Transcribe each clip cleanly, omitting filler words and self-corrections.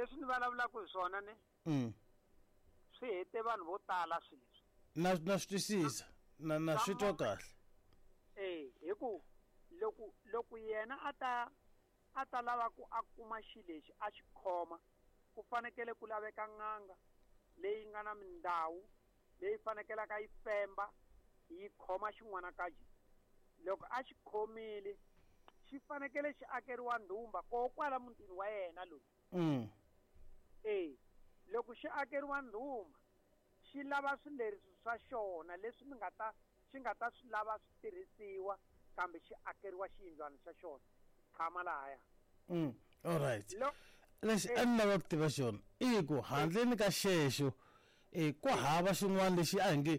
Leswi ni vulavulaka hi swona ne swi hete vanhu vo tala swilo leswi. Na swi twisisa, na swi twa kahle. Hi ku loko yena a ta lava ku a kuma xilo lexi a xi khoma, ku fanekele ku laveka n'anga leyi nga na mindhawu leyi fanekelaka yi femba yi khoma xin'wanakaji. Loko a xi khomile xi fanekele xi akeriwa ndhumba koho kwala mutini wa yena loyi. Loko xi akeriwa ndhumba xi lava swileriso swa xona leswi mi nga ta xi nga ta swi lava swi tirhisiwa, kambe xi akeriwa xiyindlwana xa xona tshama lahaya. All right. Lexi a ni lava ku tiva xona i ku handleni ka xexo ku hava xin'wana lexi a hi nge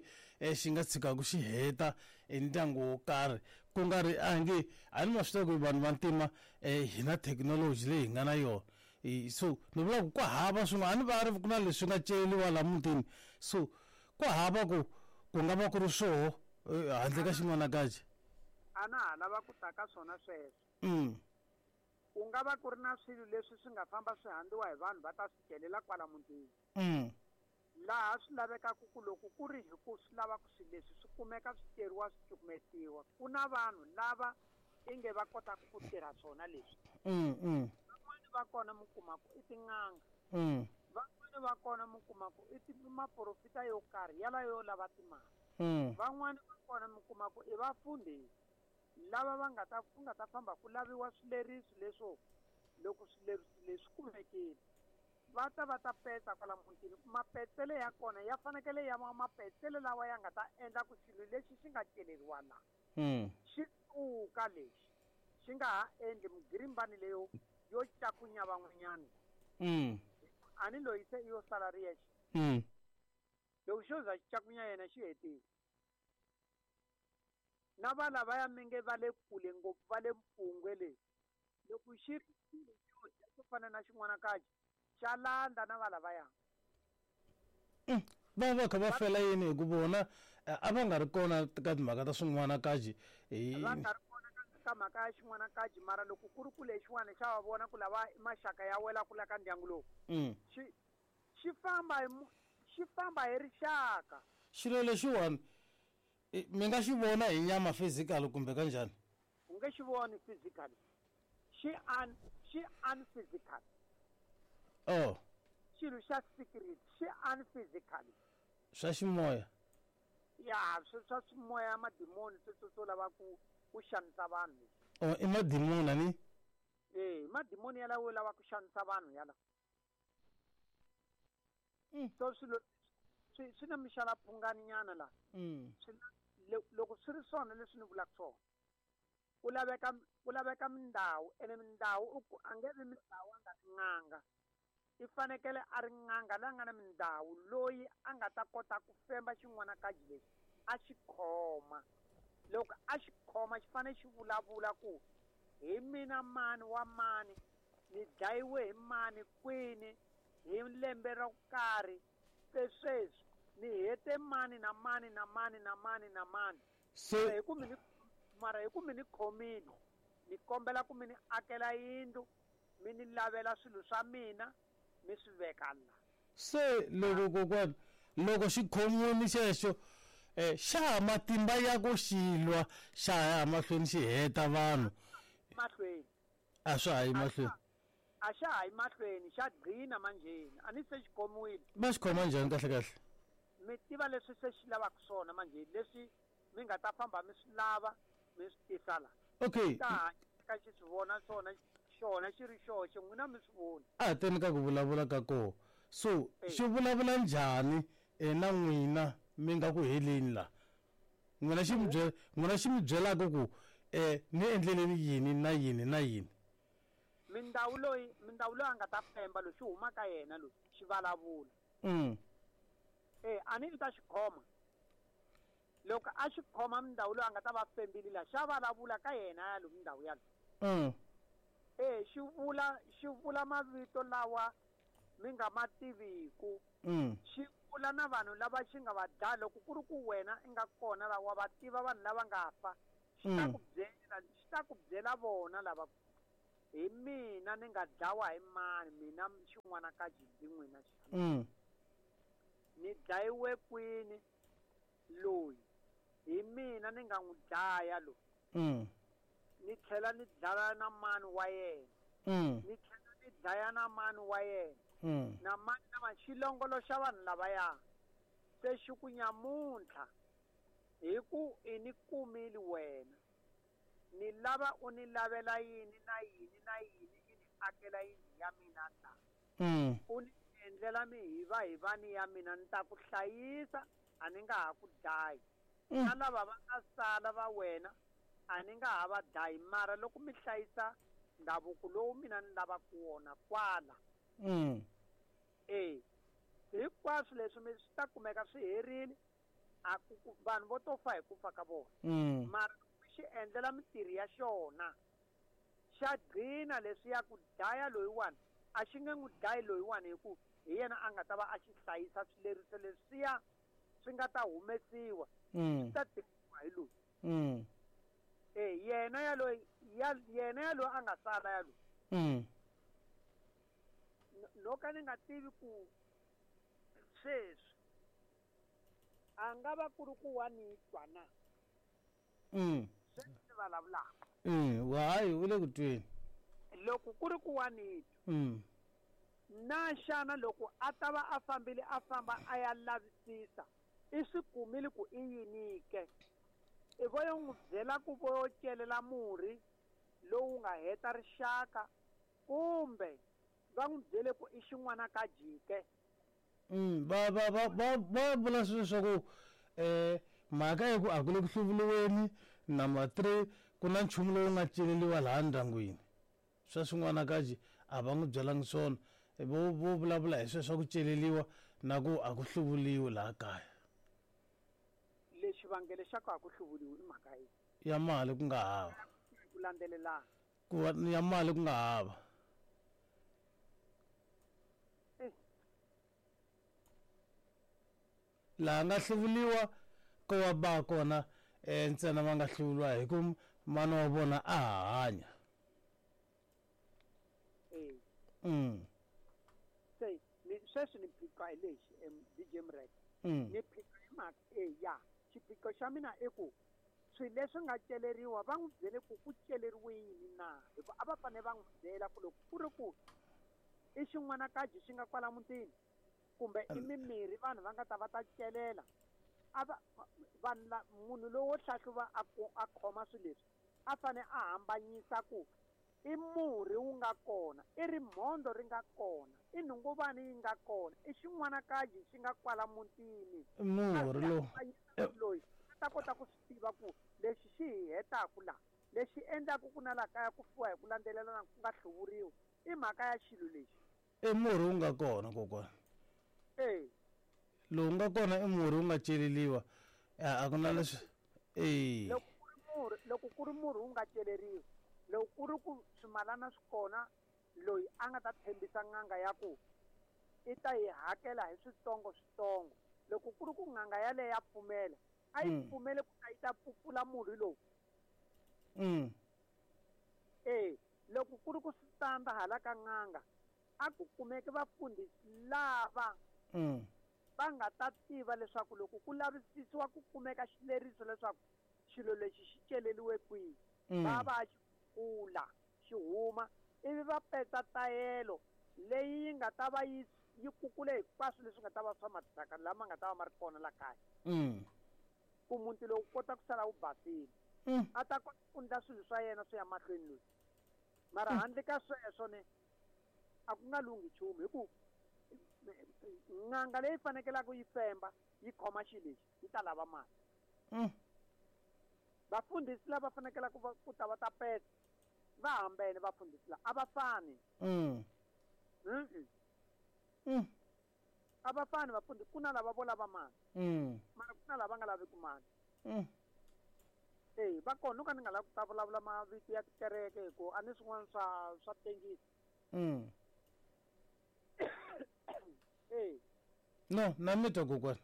xi nga tshikaka xi heta ndyangu wo karhi, ku nga ri a hi nge a ni ma swi tiva ku vanhu va ntima hi na thekinoloji leyi hi nga na yona. So ni vula ku ku hava swin'wana, a ni va ri ku na leswi nga celiwa laha mutini, so ku hava ku ku nga va ku ri swoho handle ka xin'wanakaji. A na ha lava ku ta ka swona sweswo. Ku nga va ku ri na swilo leswi swi nga famba swi handziwa hi vanhu va ta swi celela kwala mutini. Laha swi lavekaka ku loko ku ri hi ku swi lava ku swilo leswi swi kumeka swi ceriwa swi cukumetiwa, ku na vanhu lava inge va kotaka ku tirha swona leswi. Van'wani va kona mi kuma ku i tin'anga. Van'wani va kona mi kuma ku i maprofita yo karhi yala yo lava timali. Van'wani va kona mi kuma ku i vafundhisi lava va nga ta ku nga ta famba ku laviwa swileriso leswo. Loko swileriso leswi kumekile va ta va ta petsa kwala mutini. Mapetsele ya kona ya fanekele ya va mapetsele lawa ya nga ta endla ku xilo lexi xi nga celeriwa laha xi suka lexi xi nga ha endli mugirimbani leyo yo cakunya van'wanyana. A ni loyi se yo sala ri yexe. Loko xo za xi cakunya yena xi hetile. Na va lavaya mi nge va le kule ngopfu va le mpfungwe le, loko xi ri xilo xo dya xo fana na xin'wanakaji xa landza na va lavaya. Va va kha va fela yini hi ku vona a va nga ri kona ka timhaka ta swin'wanakaji? Va nga ri kona ka mhaka ya xin'wanakaji, mara loko ku ri ku lexiwani xa va vona ku lava i maxaka ya wela ku la ka ndyangu lowu. Xi famba hi xi famba hi rixaka. Xilo lexiwani mi nga xi vona hi nyama physical kumbe kanjhani? U nge xi voni physically. Xi unphysical. Oh. Xilo xa secret xi unphysical. Swa ximoya. Ya, swa ximoya, madimoni sweswo swo lava ku xanisa vanhu. Oh, i madimoni ni? Madimoni yalawo yo lava ku xanisa vanhu yala. So swilo swi na mixalaphungani nyana la. Swi loko swi ri swona leswi ni vulaka swona, ku laveka mindhawu, ene mindhawu a nge vi mindhawu a nga ri n'anga. I fanekele a ri n'anga la nga na mindhawu loyi a nga ta kota ku femba xin'wanakaji lexi a xi khoma. Loko a xi khoma xi fanele xi vulavula ku hi mina mani wa mani, ni dlayiwe hi mani kwini hi lembe ro karhi, se sweswi ni hete mani na mani na mani na mani na mani. So Mara hi ku mi ni khomile, ni kombela ku mi ni akela yindlu, mi ni lavela swilo swa mina, mi swi veka la. Se loko kokwana, loko xi khomiwile xexo, xa ha matimba ya ku xi lwa, xa ha ya mahlweni xi heta vanhu. Mahlweni. A swa ha yi mahlweni. A xa ha yi mahlweni, xa gcina manjheni. A ni se xi khomiwile. Va xi khoma njhani kahle kahle? Mi tiva leswi se xi lavaka swona manjheni, leswi mi nga ta famba mi swi lava, mi swi tisa la. Okay. Ta hanya xi swi vona swona, xona xi ri xoxe, n'wina mi swi voni. A hi teni ka ku vulavula ka koho. So, xi vulavula njhani na n'wina mi nga ku heleni la? N'wina xi mi byela, n'wina xi mi byelaka ku ni endleleni yini na yini na yini? Mindhawu loyi, mindhawu loyi a nga ta femba loyi xi huma ka yena loyi xi vulavula. A ni ta xi khoma. Loko a xi khoma mindhawu loyi a nga ta va fembile la, xa vulavula ka yena ya loyi mindhawu ya loyi. Xi vula mavito lawa mi nga ma tiviku. Xi vula na vanhu lava xi nga va dlaya. Loko ku ri ku wena i nga kona lawa wa va tiva vanhu lava nga fa, xi ta ku byela, xi ta ku byela vona lava. Hi mina ni nga dlawa hi mani mina xin'wana ka jindi n'wina xana. Ni dlayiwe kwini loyi hi mina ni nga n'wi dlaya loyi. Ni tlhela ni dlaya na mani wa yena. Ni tlhela ni dlaya na mani wa yena. Na mani na mani xilongolo xa vanhu lavaya. Se xi ku nyamuntlha hi ku i ni kumile wena. Ni lava u ni lavela yini na yini na yini i ni akela yindlu ya mina la. U ni endlela mihivahivani ya mina ni ta ku hlayisa a ni nga ha ku dlayi. Na lava va nga sala va wena a ni nga ha va dlayi mara loko mi hlayisa ndhavuko lowu mina ni lavaka wona kwala. Hinkwaswo leswi mi swi ta kumeka swi herile a ku vanhu vo to fa hi ku fa ka vona. Mara xi endlela mintirho ya xona xa gcina leswi ya ku dlaya loyiwani a xi nge n'wi dlayi loyiwani hi ku hi yena a nga ta va a xi hlayisa swileriso leswiya swi nga ta humesiwa swi ta tekiwa hi loyi. Yena ya loyi yena ya loyi a nga sala ya loyi. No ka ni nga tivi ku sweswi a nga va ku ri ku wa ni twa na. Sweswi ni vulavulaka. Hayi u le ku tweni. Loko ku ri ku wa ni twa. Na xana loko a ta va a fambile a famba a ya lavisisa i swi kumile ku i yini ke. I vo yo n'wi byela ku vo yo celela murhi lowu nga heta rixaka kumbe va n'wi byele ku i xin'wana ka jike. Va vula swilo swa ku mhaka ya ku a ku le ku hluvuriweni number 3 ku na nchumu lowu nga celeriwa laha ndyangwini. Swa swin'wana ka ji a va n'wi byelangi swona. Vo vulavula hi sweswo swa ku celeriwa na ku a ku hluvuriwi laha kaya. Lexi vangelo xa ku a ku hluvuriwi i mhaka yihi? Ya mali ku nga hava. Ku landzelelana. Ku ya mali ku nga hava. Laha nga hluvuriwa ko wa ba kona ntsena va nga hluvuriwa hi ku mana wa vona a hanya. Se ni sweswi ni phiqo hi lexi DJ Mrek. Ni phiqo hi mhaka ya xiphiqo xa mina i ku swilo leswi nga celeriwa va n'wi byele ku ku celeriwe yini na hikuva a va fanele va n'wi byela ku loko ku ri ku i xin'wana kaji xi nga kwala mutini kumbe i mimirhi vanhu va nga ta va ta celela a va vanhu la munhu lowo hlahluva a khoma swilo leswi a fanele a hambanyisa ku i murhi wu nga kona i rimhondzo ri nga kona i nhunguvani yi nga kona i xin'wana kaji xi nga kwala mutini. Murhi lowu loyi a ta kota ku swi tiva ku lexi xi hi hetaku la lexi endlaku ku na la kaya ku fiwa hi ku landzelelana ku nga hluvuriwi i mhaka ya xilo lexi. I murhi wu nga kona kokwana. Lowu nga kona i murhi wu nga celeriwa a ku na leswi. Loko ku ri murhi wu nga celeriwi loko ku ri ku swimalana swi kona loyi a nga ta tshembisa n'anga ya ku i ta yi hakela hi switsongo switsongo loko ku ri ku n'anga yaleyo ya pfumela a yi pfumele ku ta yi ta pfupfula murhi lowu. Loko ku ri ku swi tanda hala ka n'anga a ku kumeke vafundhisi lava va nga ta tiva leswaku loko ku lavisisiwa ku kumeka xileriso leswaku xilo lexi xi celeriwe kwihi va va xi kula xi huma ivi va petsa tayelo leyi yi nga ta va yi kukule hinkwaswo leswi nga ta va swa mathyaka lama nga ta va ma ri kona la kaya. Ku muti lowu kota ku sala wu basile. A ta kota ku endla swilo swa yena swi ya mahlweni loyi. Mara handle ka sweswo ne a ku nga lunghi nchumu hi ku n'anga leyi fanekelaka yi femba yi khoma xilo lexi yi ta lava mali. Vafundhisi lava fanekelaka ku ta va ta peta va hambene vafundhisi lava a va fani. A va fani vafundhisi ku na lava vo lava mali. Mara ku na lava nga laveki mali. Va kona no ka ni nga lavi ku ta vulavula mavito ya tikereke hi ku a ni swin'wana swa tengisa. No, na mi twa kokwana.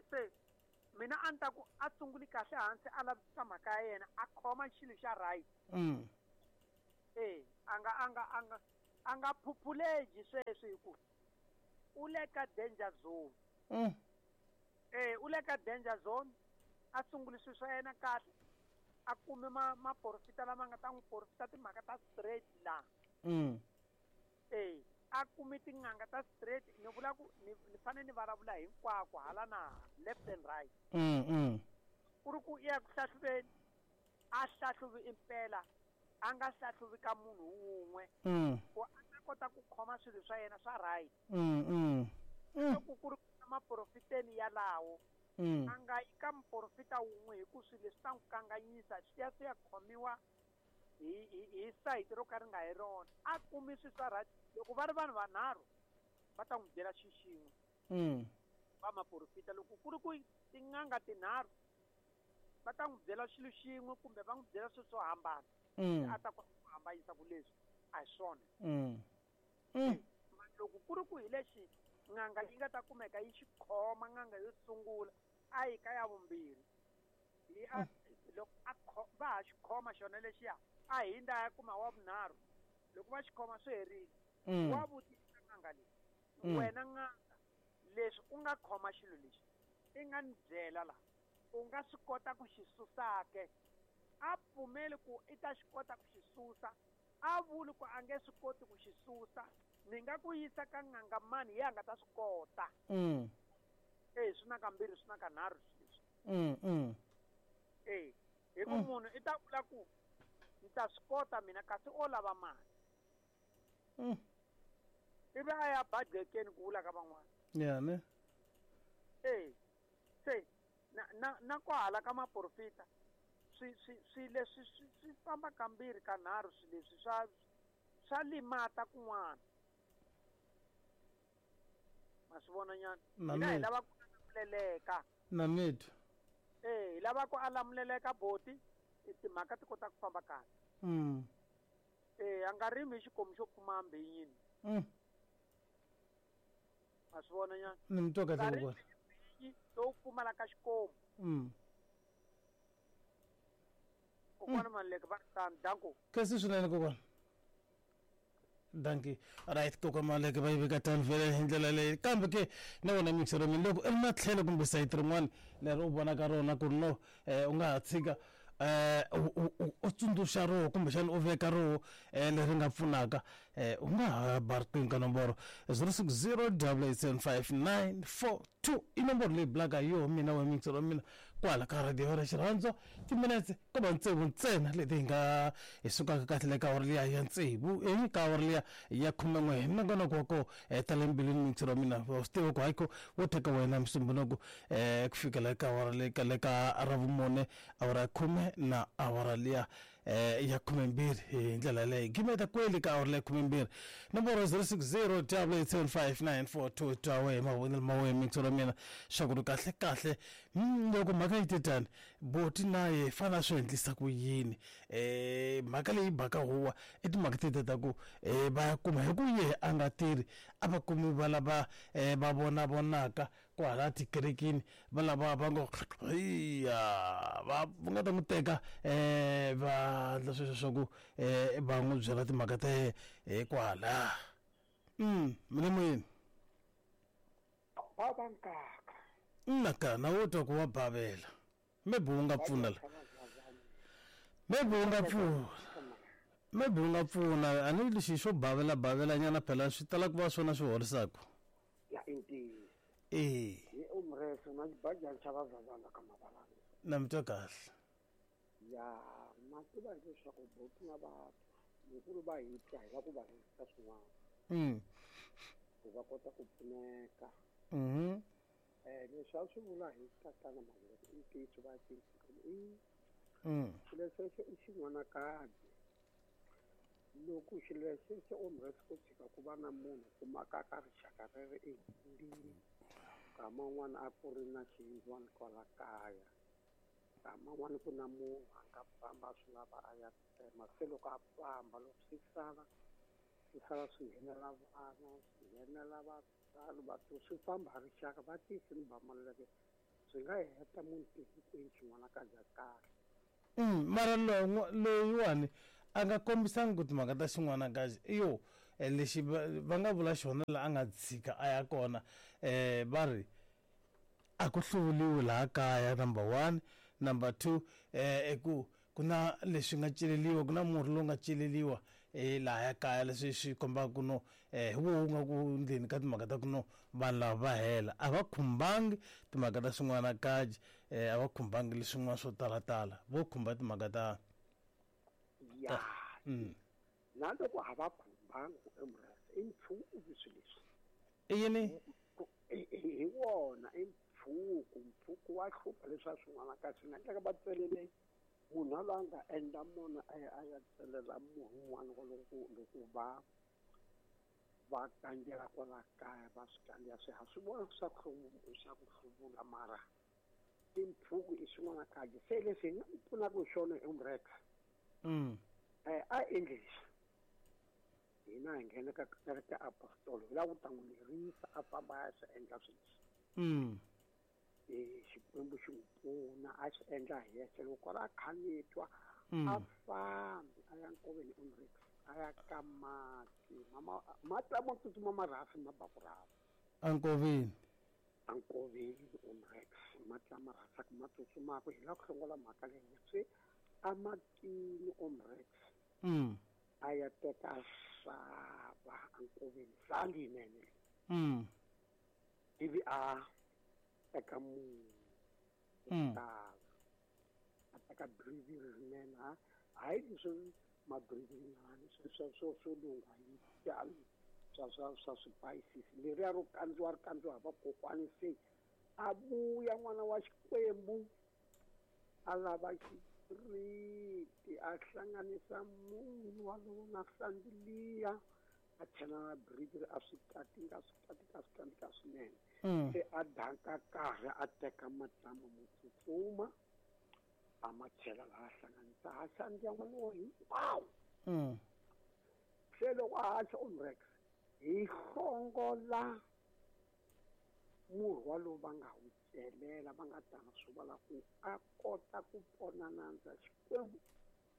Se mina a ni ta ku a sunguli kahle hansi a lavisisa mhaka ya yena a khoma xilo xa right. A nga phuphuleji sweswi hi ku u le ka danger zone. U le ka danger zone, a sunguli swilo swa yena kahle, a kume maporofita lama nga ta n'wi porofita timhaka ta straight laha. A kume tin'anga ta straight, ni vula ku ni fanele ni vulavula hinkwako hala na left and right. Ku ri ku ya ku hlahluveni, a hlahluvi impela, a nga hlahluvi ka munhu wun'we. Ku a ta kota ku khoma swilo swa yena swa right. Loko ku ri maprofiteni yalawo, a nga yi ka muprofita wun'we hi ku swilo leswi ta n'wi kanganyisa, swi ya swi ya khomiwa hi sayiti ro ka ri nga hi rona. A kumi swilo swa right. Loko va ri vanhu vanharhu va ta n'wi byela xi xin'we. Va maprofita loko ku ri ku tin'anga tinharhu va ta n'wi byela xilo xin'we kumbe va n'wi byela swilo swo hambana. A ta kota ku hambanyisa ku leswi a hi swona. Loko ku ri ku hi lexi n'anga yi nga ta kumeka yi xi khoma n'anga yo sungula a yi ka ya vumbirhi. Loko va ha xi khoma xona lexiya a hindza ya kuma wa vunharhu. Loko va xi khoma swi herile. Wa vutisa n'anga leyi. Wena n'anga leswi u nga khoma xilo lexi i nga ni byela la u nga swi kota ku xi susa ke. A pfumeli ku i ta xi kota ku xi susa, a vuli ku a nge swi koti ku xi susa, ni nga ku yisa ka n'anga mani ya nga ta swi kota. Swi na kambirhi swi na kanharhu sweswi. Hi ku munhu i ta vula ku ni ta swi kota mina kasi o lava mali. Ivi a ya badekeni ku vula ka van'wana. Ya ne. Se na kwahala ka maprofita swi leswi swi famba kambirhi kanharhu swi leswi swa limata kun'wana. Ma swi vona nyana? Hina hi lava ku alamuleleka. Na mitwa. Hi lava ku alamuleleka boti, timhaka ti kota ku famba kahle. A nga rimi hi xikomu xo pfuma mbinyini. Ma swi vona nyana? Ni mi twa kahle kokwana. Lowu pfumalaka xikomu. Kokwana Maluleke va ri tano, danko. Kasi swinene kokwana. Danki. Right, kokwana Maluleke va yi veka tano vhele hi ndlela leyi. Kambe ke na wona mixero mina loko i ri na tlhelo kumbe sayiti rin'wana leri u vonaka rona ku ri no u nga ha tshika u tsundzuxa roho kumbexana u veka roho leri nga pfunaka, u nga ha ba riqingho ka nomboro 060 8875942 i nomboro leyi bulaka hi yoho mina wa mixero wa mina kwala ka radio ra xirhandzo. Timinetse ko va tsevu ntsena leti hi nga hi sukaka kahle le ka awara liya ya tsevu ka awara liya ya 11 hi nongonoko wa ko ta le mbilwini mixero wa mina. Wa swi tiva ku hayiko wo teka wena musumbhunuku ku fikela ka awara le ka le ka ravumune awara ya 10 na awara liya ya 12 hi ndlela yaleyo. Gimeta kweli ka awara liya 12 nomboro 060 8875942 twa wehe mavonelo ma wehe mixero wa mina swa ku ri kahle kahle loko mhaka yi te tani boti na ye fana swi endlisa ku yini. Mhaka leyi baka huwa i timhaka tete ta ku va ya kuma hi ku ye a nga tirhi a va kumi va lava va vona vonaka kwala tikerekeni va lava va ngo ya va nga ta n'wi teka va endla sweswo swa ku va n'wi byela timhaka ta ye kwala. Mina moyeni. Ba ba nkaka. Nna wo twa ku wa bavela. Maybe u nga pfuna la. Maybe u nga pfuna. Maybe u nga pfuna a ni lexi xo bavela bavela nyana phela swi tala ku va swona swi horisaka. Ya intiyiso. Hi umreso na xibajani xa vavazana ka mavalanga. Na mi twa kahle. Ya ma tiva leswaku boti na batwa loko va hi twa hi va ku va risa swin'wana. Ku va kota ku pfuneka. Leswi a swi vula hi tatana Maluleke i ntiyiso va cinca i xilo xexo i xin'wanakadzi. Loko xilo xexo umreso ku tshika ku va na munhu kumaka ka rixaka rero ehundini, nkama wun'wana a ku ri na xiyindlwana kwala kaya, nkama wun'wana ku na munhu a nga famba a swi lava a ya tsema, se loko a famba loko swi sala swi sala swi nghenela vana, swi nghenela vatswari, vathu swi famba rixaka va tisi ni ba Maluleke swi nga heta munhu hinkwenu xin'wanakadzi ya kahle. Mara loyiwani A nga kombisangi ku timhaka ta xin'wanakazi i yo lexi va nga vula xona la a nga tshika a ya kona va ri a ku hluvuliwi laha kaya number 1, number 2 i ku ku na leswi nga celeliwa, ku na murhi lowu nga celeliwa lahaya kaya leswi swi kombaka ku no hi woho wu nga ku ndleni ka timhaka ta ku no vanhu lava va hela a va khumbangi timhaka ta swin'wanakaji a va khumbangi leswin'wana swo talatala vo khumba timhaka ta ya na loko a va khumbangi emurasi i mpfhuku swilo leswi i yini hi wona i mpfhuku mpfhuku wa hlupha leswi swin'wana ka swi nga endleka va tselele munhu loyi a nga endla mona a ya a ya tselela munhu un'wana loko loko va va kandzela kwala kaya va swi kandziya swi ha swi vona swa ku swa ku hluvula mara timpfhuku i swin'wana kahle se leswi hi nga n'wi pfunaka hi swona umrex a endli leswi hina hi nghena ka kereke apostolo hi lava ku ta n'wi lerisa a famba a ya swi endla swilo leswi Xikwembu xi n'wi pfuna a xi endla hi yexe loko a kha ni twa a fambi a ya nkoveni umrex a ya ka mati mama mati lamo tsutsuma marhafi ma ba ku rhafu enkoveni enkoveni umrex mati lama rhasaka ma tsutsumaka hi lava ku hlongola mhaka leyi se amatini umrex a ya teka sava enkoveni sandi yinene ivi a teka munhu tala a teka biriviri rinene ha hayi leswi mabirivinyana swo swo swo lungha yi swa swa swa swipayisisi leriya ro kandziwa ri kandziwa hi vakokwani se a vuya n'wana wa Xikwembu a lava xipiriti a hlanganisa munhu walowo na sandiliya a chela na biriviri a swi katinga swi katinga swi katinga swinene se a danka karhi a teka matlama mo tsutsuma a ma chela laha hlanganisa ha xandziya n'wana wa hinkwawo se loko a haxa umrex hi hlongola murhi walowu va nga wu celela va nga tana swi vula ku a kota ku pona nandza Xikwembu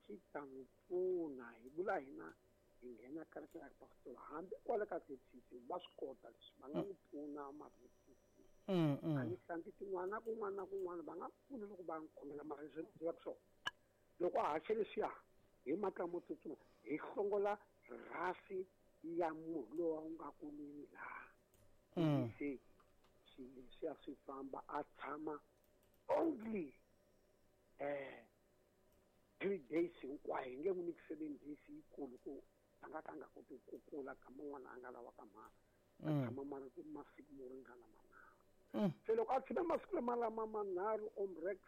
xi ta n'wi pfuna hi vula hina hi nghena kereke ya apostolo hambi kwale ka ZCC va swi kota leswi va nga n'wi pfuna ma ZCC a ni hlanti tin'wana na kun'wana na kun'wana va nga pfuna loko va n'wi khomela mara leswi ni byelaka swona loko a haxe leswiya hi matla mo tsutsuma hi hlongola rhasi ya munhu lowu wu nga kulwini laha se swilo leswiya swi famba a tshama only 3 days hinkwayo hi nge n'wi nyiki 7 days yikulu ku a nga ka a nga koti ku kula ka man'wana a nga lavaka mhaka a tshama mara ku masiku mo ringana manharhu se loko a tshame masiku lama lama manharhu omrex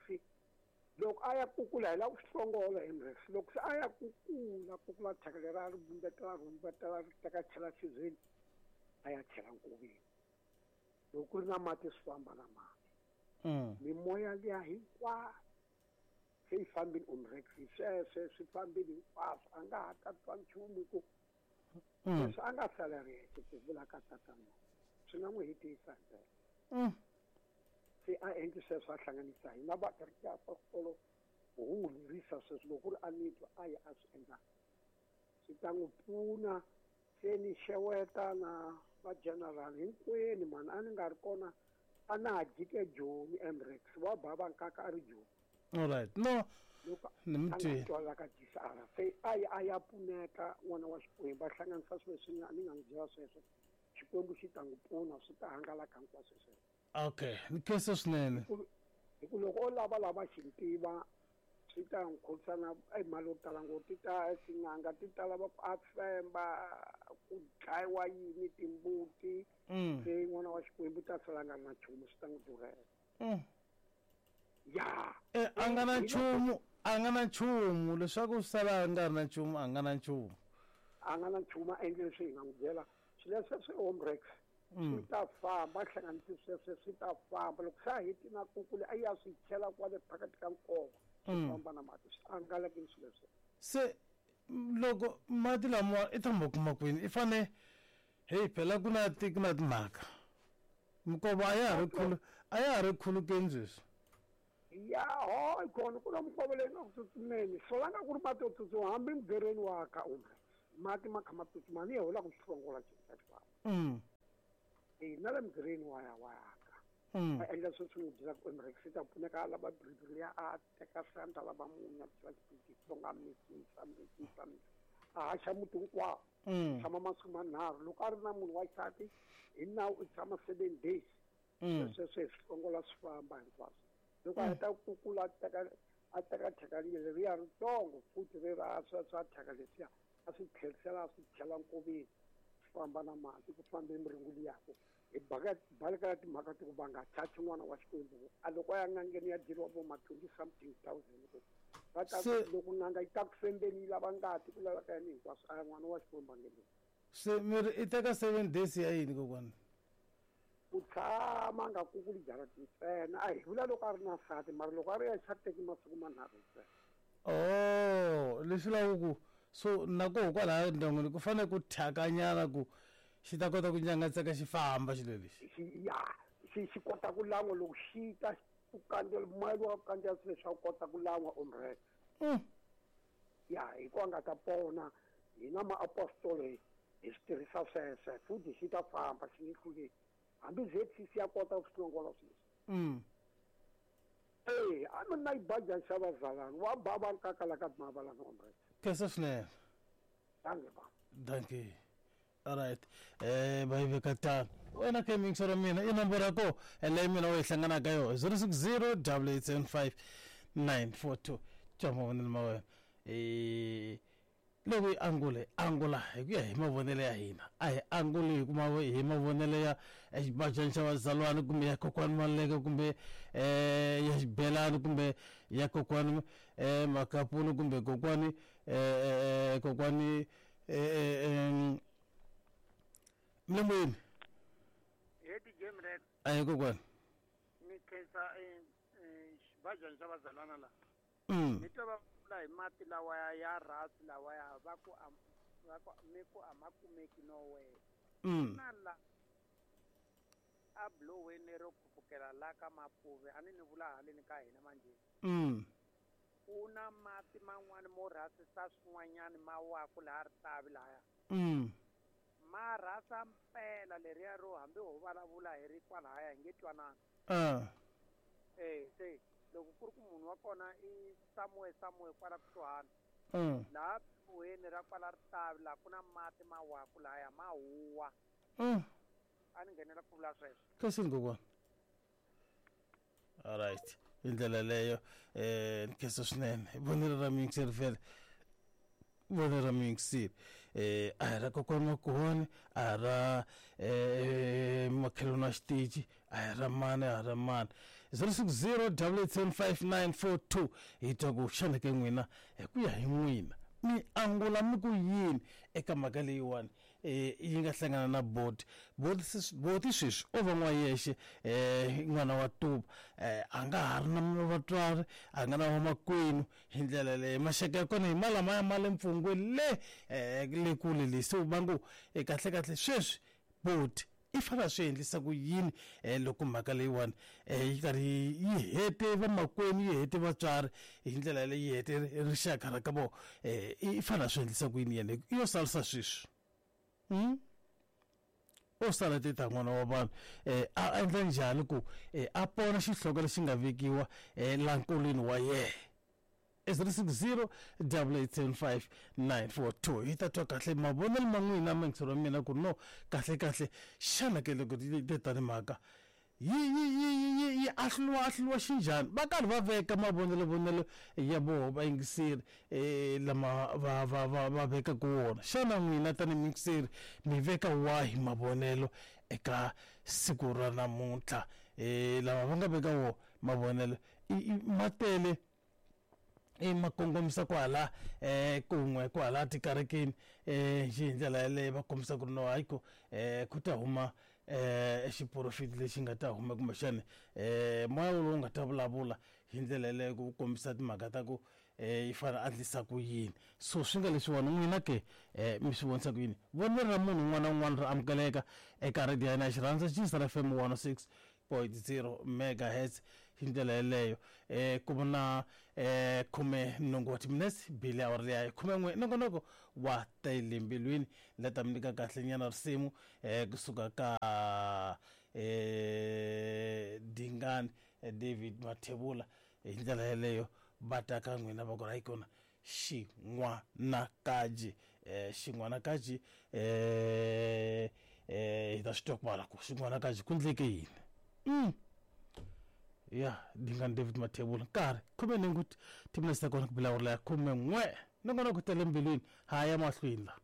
loko a ya kukula hi lava ku swi hlongola emrex loko se a ya kukula kukula thyaka leri a ri vumbetela ri vumbetela ri teka chela xibyeni a ya chela nkoveni loko ku ri na mati swi famba na mati mimoya liya hinkwayo se yi fambile omrex sweswe swi fambile hinkwaswo a nga ha ta twa nchumu hi ku leswi a nga sala ri yexe ku vula ka tatana swi nga n'wi hetisa ndlela se a endli sweswo a hlanganisa hina va kereke ya apostolo hu n'wi lerisa sweswo loko ku ri a ni twa a ya a swi endla swi ta n'wi pfuna se ni xeweta na va general hinkwenu mani a ni nga ri kona a na ha jike Joni Emrex wa bava nkaka a ri Joni all right no ni mi twile twala ka GCR se a ya a ya pfuneka n'wana wa Xikwembu a hlanganisa swilo leswi ni nga n'wi byela sweswo Xikwembu xi ta n'wi pfuna swi ta hangalaka hinkwaswo sweswo okay ni khensa swinene hi ku loko o lava lava xi tiva swi ta n'wi khomisa na mali yo tala ngopfu ti ta tin'anga ti ta lava ku a femba ku dlayiwa yini timbuti se n'wana wa Xikwembu ta sala nga ri na nchumu swi ta n'wi durhela ya a nga na nchumu a nga na nchumu leswaku sala a nga ri na nchumu a nga na nchumu a nga na nchumu a endle leswi hi nga n'wi byela swilo leswi swi homework swi ta famba hlanganisi sweswe swi ta famba loko se a heti na kukule a ya swi chela kwale phakathi ka nkova swi famba na mati swi hangalakile swilo leswi se loko mati lamawa i tshama kuma kwini i fane heyi phela ku na ku na timhaka minkova a ya ha ri khulu a ya ha ri khulukeni sweswi. Ya ho kona ku na minkova leyi nga ku tsutsumeni solanga ku ri mati yo tsutsuma hambi mugereni wa ka umre mati ma kha ma tsutsuma ni yehola ku xihlongola xifamba. Na le mugereni wa ya wa ka. A endla sweswi n'wi byela ku umre swi ta pfuneka a lava biribiri liya a teka santa lava munya byela xitsonga misisa misisa a haxa muti hinkwawo. Tshama masiku manharhu loko a ri na munhu wa xisati hi nawu u tshama 7 days. Sweswo swi hlongola swi famba hinkwaswo. Loko a heta ku kukula a teka thyaka leriya ritsongo futhi ri ra swa thyaka leswiya a swi tlherisela a swi chela nkoveni swi famba na mati ku fambe miringu liyako hi balekela timhaka ti ku va nga chachi n'wana wa Xikwembu a loko a ya n'angeni ya dyeriwa vo ma 20 something thousand ku va ta loko n'anga yi ta ku fembeni yi lava ngati ku laveka yini hinkwaswo a ya n'wana wa Xikwembu a nge le. Se miri i teka 7 days ya yini kokwana? Ku tshama nga kukuli jarati ntsena a hi vula loko a ri na nsati mara loko a ri yexe a teki masiku manharhu ntsena. Oh leswi lavaka ku so na koho kwalaya ndyangwini ku fanele ku thyakanyana ku xi ta kota ku nyangatseka xi famba xilo lexi. Ya xi kota ku lan'wa loko xi ta ku kandzela moya lowu wa ku kandzela swilo swa ku kota ku lan'wa omre. Ya hi ku a nga ta pona hina maapostolo hi swi tirhisa sweswe futhi xi ta famba xi nge hluleki hambi ZCC ya kota ku swi hlongola sweswi. A mina yi baja xa vazalani wa ba va nkakala ka mavalani omre. Khensa swinene. Dankie ba. Dankie. Alright. Va yi veka tano. Wena ke mixer wa mina i nomboro ya koho leyi mina u yi hlanganaka yona 060 875 942. Twa mavonelo ma wena. Loko yi angula hi angula hi ku ya hi mavonelo ya hina a hi anguli hi kuma hi mavonelo ya xibajani xa vazalwana kumbe ya kokwani Maluleke kumbe ya xibelani kumbe ya kokwani Makapuni kumbe kokwani kokwani Mlembweni. He DJ Mrek. Ayi kokwani. Ni khensa xibajani xa vazalwana la. Ni twa va vula hi mati lawa ya rhasi lawa ya va ku mi ku a ma kumeki nowhere. Na la a bloweni ro khupukela la ka Mapuve a ni ni vula haleni ka hina manje. Ku na mati man'wani mo rhasisa swin'wanyani ma waku laha Ritavi lahaya. Ma rhasa mpela leriya ro hambi ho vulavula hi ri kwalahaya hi nge twanani. Se loko ku ri ku munhu wa kona i somewhere somewhere kwala kusuhani. Laha buweni ra kwala Ritavi laha ku na mati ma waku lahaya ma huwa. A ni nghenela ku vula sweswo. Khensini kokwana. Alright. Hi ndlela leyo ni khensa swinene. Vonelo ra muyingiseri vhele. Vonelo ra muyingiseri. A hi ra kokwani Makhuwani, a hi ra makhelwani wa xitichi, a hi ra mani, a hi ra mani. 060 875 hi twa ku xana ke n'wina hi ku ya hi n'wina mi angula mi ku yini eka mhaka leyiwani yi nga hlangana na boti. Boti sweswi o va n'wa yexe n'wana wa tuva a nga ha ri na vatswari a nga na vamakwenu hi ndlela leyi maxaka ya kona hi malamaya ma le mpfungweni le le kule le se va ngo kahle kahle sweswi boti i fanele swi endlisa ku yini loko mhaka leyiwani yi karhi yi hete vamakwenu yi hete vatswari hi ndlela leyi yi hete rixaka ra ka vona i fanele swi endlisa ku yini yena i yo salisa sweswi. O sala teta n'wana wa vanhu a endla njhani ku a pona xihloko lexi nga vekiwa la nkulwini wa yena. 060 875 942 hi ta twa kahle mavonelo ma n'wina muyingiseri wa mina ku no kahle kahle xana ke loko tani mhaka yi ahluriwa ahluriwa xinjhani va karhi va veka mavonelo vonelo ya voho vayingiseri lama va va va va vekaka wona xana n'wina tanihi muyingiseri mi veka wahi mavonelo eka siku ra namuntlha lava va nga veka wo mavonelo ma tele i ma kongomisa kwala kun'we kwala tikerekeni hi ndlela yaleyo va kombisa ku ri no hayi ku ku ta huma xiprofeti lexi nga ta huma kumbexani moya wolowo nga ta vulavula hi ndlela yaleyo ku kombisa timhaka ta ku yi fanele a endlisa ku yini so swi nga leswiwani n'wina ke mi swi vonisa ku yini vonelo ra munhu un'wana na un'wana ra amukeleka eka radio ya hina ya xirhandza Xisara FM 106.0 megahertz. Hi ndlela yeleyo ku vona 18 wa timinetse bile awara liya ya 11 nongonoko wa tele mbilwini la ta mi nyika kahle nyana risimu kusuka ka Dingani David Mathebula. Hi ndlela yeleyo va ta ka n'wina va ku ri kona xin'wanakaji xin'wanakaji hi ta swi twa kwala ku xin'wanakaji ku ndleke yini. Ya Dingani David Mathebula nkarhi 18 timinetse ta kona ku bilawula ya 11 nongonoko tele mbilwini ha ya mahlweni la.